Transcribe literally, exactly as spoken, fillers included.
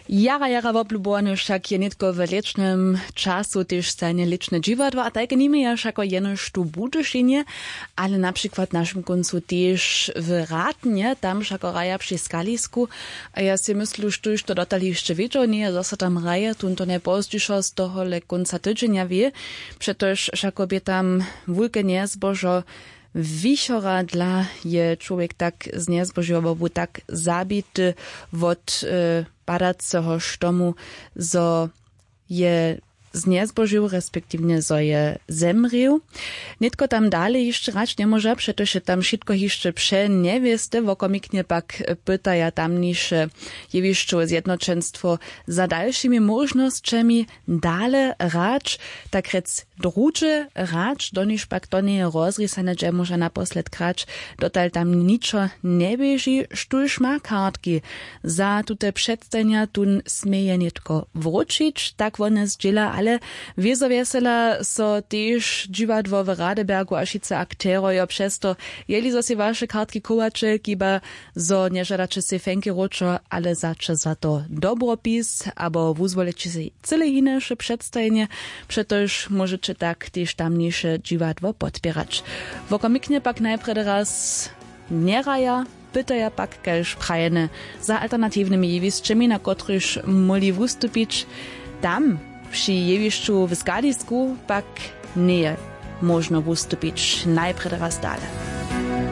Jara jara woblubowany wšak je nětko w lěčnym času tež stajnje lěčne dźiwadło a tajke nima je wšako jenož tu w budyšinje, ale na přikład w našim kóncu tež w ratnje tam wšako hraja při skalisku. A ja sej myslu štóž to dotal hišće wědźał njeje zo so tam hraje tón to najpozdźišo z tohole kónca tydźenja wě, přetož wšako bě tam wulke njezbožo. Wichora dla je čłowjek tak znjezbožił abo bu tak zabity wot padaceho štomu, zo je znjezbožił respektiwnje zo je zemrěł. Nětko tam dale hišće hrać njemóža přetož je tam wšitko hišće přenjewěste wokomiknje pak pytaja tamniše jewišćowe zjednoćenstwo za dalšimi móžnosćemi dale hrać, tak rjec druhdźe hrać doniž pak to njeje rozrisane dźe móža naposled hrać. Dotal tam ničo njeběži. Štóž ma kartki za tute předstajenja tón směje nětko wróćić tak wone zdźěla ale wězo wjesela so tež dźiwadło w radebergu a wšitcy akterojo přez to, jeli zo sej waše kartki chowaće chiba zo nježadaće sej fenki wróćo ale wzaće za to dobropis abo wuzwoliće sej cyle hinaše předstajenje. Přetož móžeće tak tež tamniše dźiwadło podpěrać. Wokomiknje pak najprjedy raz njehraja, pytaja pak kaž prajene za alternatiwnymi jewisćemi na kotrychž móhli wustupić. Tam při jewišću w skadisku pak njeje móžno wustupić najprjedy raz dale.